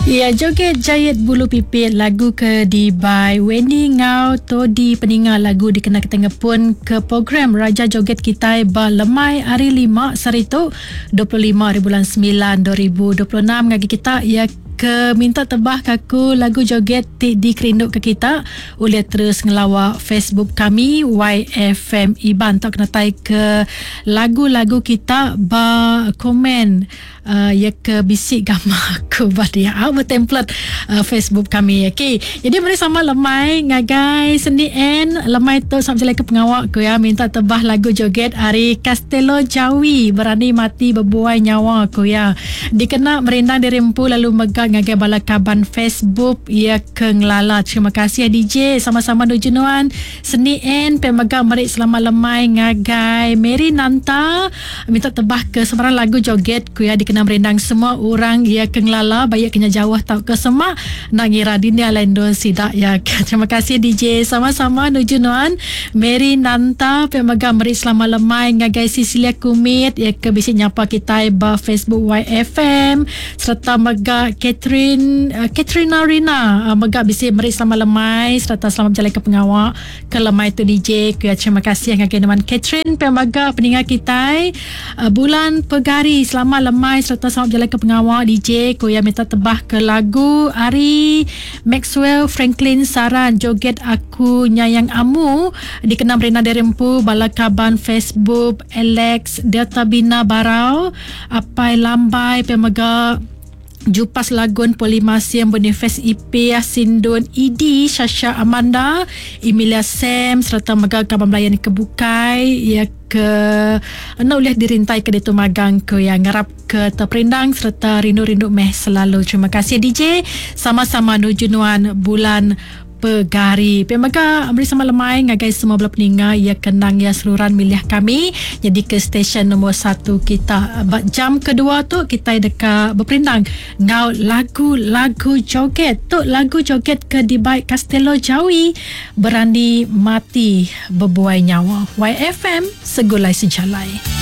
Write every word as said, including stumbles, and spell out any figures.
Ya, joget jayet bulu pipit lagu ke di by Wendy Ngau Todi peninga lagu dikena kita ngepun ke program Raja Joget Kitai ba lemai hari lima saritu dua puluh lima hari bulan sembilan dua ribu dua puluh enam ngagi kita ya ke minta tebah kaku lagu joget ti dikerinduk ke kita boleh terus ngelawak Facebook kami Y F M Iban tok kena tai ke lagu-lagu kita ba komen uh, ya ke bisik gambar aku ba dia ba template uh, Facebook kami. Okey, jadi mari sama lemai ngagai Seni N lemai tu sampai ke pengawak ku ya minta tebah lagu joget ari Castello Jawi berani mati berbuai nyawa ku ya dikena merindang diri empu lalu mega ngagai bala kaban Facebook ya ke ngelala. Terima kasih D J, sama-sama nuju nuan Seni N pemegang merik selamat lemai ngagai Mary Nanta minta tebah ke sebarang lagu joget ku ya dikena merindang semua orang ya ke ngelala baik kena jauh tau ke semak nak ngira dunia lain don sidak ya. Terima kasih D J, sama-sama nuju nuan Mary Nanta pemegang merik selamat lemai ngagai Cecilia Kumit ya ke bisi nyapa kita ba Facebook Y F M serta mega Catherine uh, Katrina Rina uh, mega bisi meri selamat lemai serta selamat berjalan ke pengawak ke lemai tu D J. Kuya terima kasih ngagai teman Catherine pemaga peninga kita uh, bulan Pegari selamat lemai serta selamat berjalan ke pengawak D J. Kuya minta tebah ke lagu Ari Maxwell Franklin Saran joget aku nyayang amu dikenal Rina Derempu bala kaban Facebook Alex Delta Bina Barau Apai Lambai pemaga Jupas Lagun Polimasim Boniface I P Sindun E D Shasha Amanda Emilia Sam serta mega kaban belayan kebukai ya ke nak boleh dirintai ke ditu magang ke yang ngarap ke terperindang serta rindu-rindu meh selalu. Terima kasih D J, sama-sama nuju nuan bulan Pegari. Pemega beri sama lemai ngagai semua bela peninga ya kenang ya seluruhan milih kami jadi ke stesen nombor satu kita. Ba jam kedua tu kita dekat berperindang ngau lagu-lagu joget. Tu lagu joget ke dibaik Castello Jawi berani mati berbuai nyawa. Y F M segulai sejalai.